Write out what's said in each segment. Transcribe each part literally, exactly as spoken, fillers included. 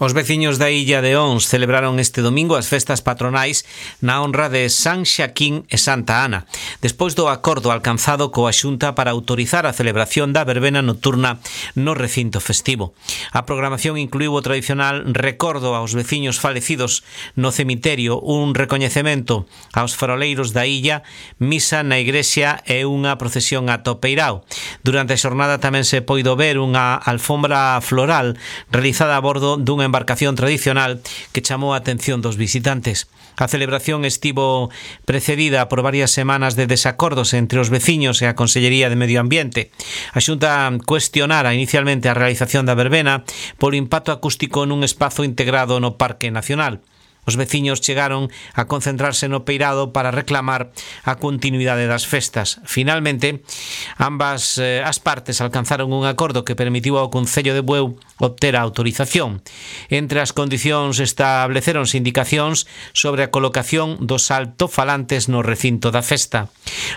Os veciños da illa de Ons celebraron este domingo as festas patronais na honra de San Xaquín e Santa Ana, despois do acordo alcanzado coa Xunta para autorizar a celebración da verbena nocturna no recinto festivo. A programación incluiu o tradicional recordo aos veciños falecidos no cemiterio, un recoñecemento aos faroleiros da illa, misa na igrexa e unha procesión ata o peirao. Durante a xornada tamén se poido ver unha alfombra floral realizada a bordo dunha embarcación tradicional que chamou a atención dos visitantes. A celebración estivo precedida por varias semanas de desacordos entre os veciños e a Consellería de Medio Ambiente. A Xunta cuestionara inicialmente a realización da verbena polo impacto acústico nun espazo integrado no Parque Nacional. Os veciños chegaron a concentrarse no peirado para reclamar a continuidade das festas. Finalmente, ambas eh, as partes alcanzaron un acordo que permitiu ao Concello de Bueu obter a autorización. Entre as condicións estableceronse indicacións sobre a colocación dos altofalantes no recinto da festa.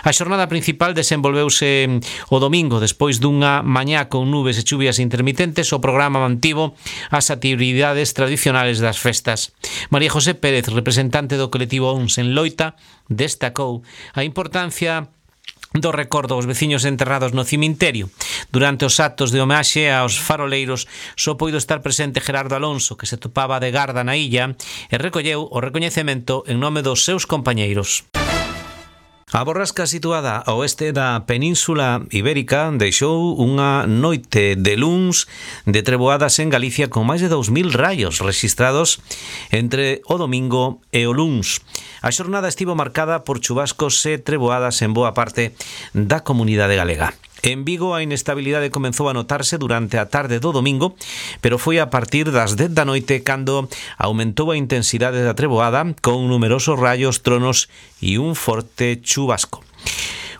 A xornada principal desenvolveuse o domingo despois dunha mañá con nubes e chuvias intermitentes. O programa mantivo as actividades tradicionales das festas. María José Pérez, representante do colectivo Ons en Loita, destacou a importancia do recordo aos veciños enterrados no cemiterio. Durante os actos de homenaxe aos faroleiros só poido estar presente Gerardo Alonso, que se topaba de garda na illa, e recolleu o recoñecemento en nome dos seus compañeiros. A borrasca situada ao oeste da Península Ibérica deixou unha noite de luns de treboadas en Galicia con máis de dous mil raios rexistrados entre o domingo e o luns. A xornada estivo marcada por chubascos e treboadas en boa parte da comunidade galega. En Vigo a inestabilidade comenzou a notarse durante a tarde do domingo, pero foi a partir das dez da noite cando aumentou a intensidade da treboada con numerosos raios, tronos e un forte chubasco.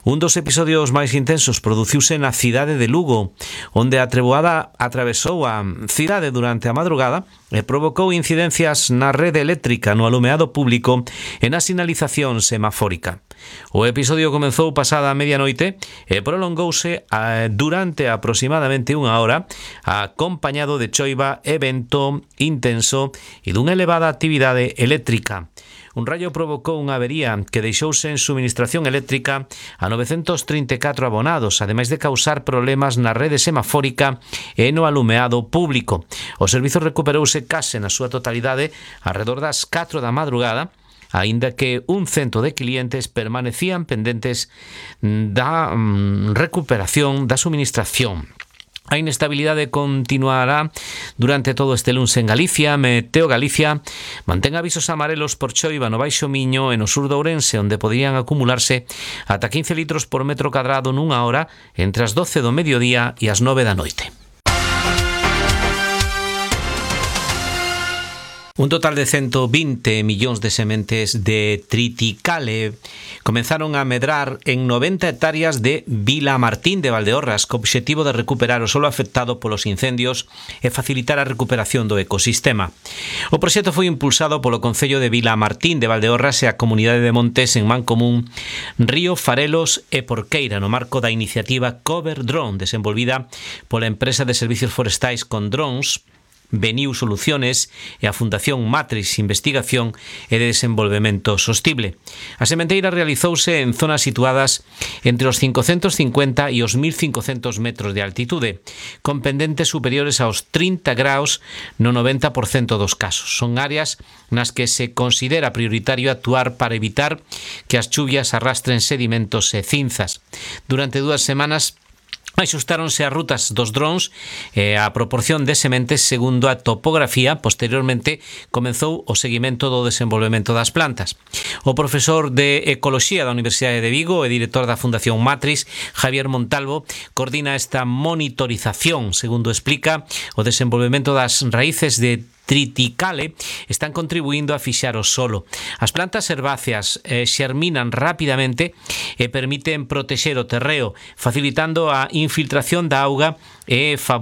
Un dos episodios máis intensos produciuse na cidade de Lugo, onde a treboada atravesou a cidade durante a madrugada e provocou incidencias na rede eléctrica, no alumeado público e na sinalización semafórica. O episodio comezou pasada a medianoite e prolongouse a, durante aproximadamente unha hora, acompañado de choiva e vento intenso e dunha elevada actividade eléctrica. Un raio provocou unha avería que deixou sen suministración eléctrica a novecentos trinta e catro abonados, ademais de causar problemas na rede semafórica e no alumeado público. O servizo recuperouse case na súa totalidade arredor das catro da madrugada, aínda que un cento de clientes permanecían pendentes da mm, recuperación da suministración. A inestabilidade continuará durante todo este luns en Galicia. Meteo Galicia mantén avisos amarelos por choiva no Baixo Miño e no sur de Ourense, onde poderían acumularse ata quince litros por metro cadrado nunha hora entre as doce do mediodía e as nove da noite. Un total de ciento vinte millóns de sementes de triticale comenzaron a medrar en noventa hectáreas de Vilamartín de Valdeorras, co obxectivo de recuperar o solo afectado polos incendios e facilitar a recuperación do ecosistema. O proxecto foi impulsado polo Concello de Vilamartín de Valdeorras e a Comunidade de Montes en Mancomún, Río, Farelos e Porqueira, no marco da iniciativa Cover Drone, desenvolvida pola empresa de servicios forestais con drones Beniu Soluciones e a Fundación Matrix Investigación e de Desenvolvemento Sostible. A sementeira realizouse en zonas situadas entre os cincocentos cincuenta e os mil cincocentos metros de altitude, con pendentes superiores aos trinta graus no noventa por cento dos casos. Son áreas nas que se considera prioritario actuar para evitar que as chuvias arrastren sedimentos e cinzas. Durante dúas semanas axustáronse as rutas dos drones e a proporción de sementes segundo a topografía. Posteriormente comezou o seguimento do desenvolvemento das plantas. O profesor de Ecoloxía da Universidade de Vigo e director da Fundación Matrix, Javier Montalvo, coordina esta monitorización. Segundo explica, o desenvolvemento das raíces de triticale están contribuindo a fixar o solo. As plantas herbáceas eh, xerminan rapidamente e permiten protexer o terreo, facilitando a infiltración da auga e favorecendo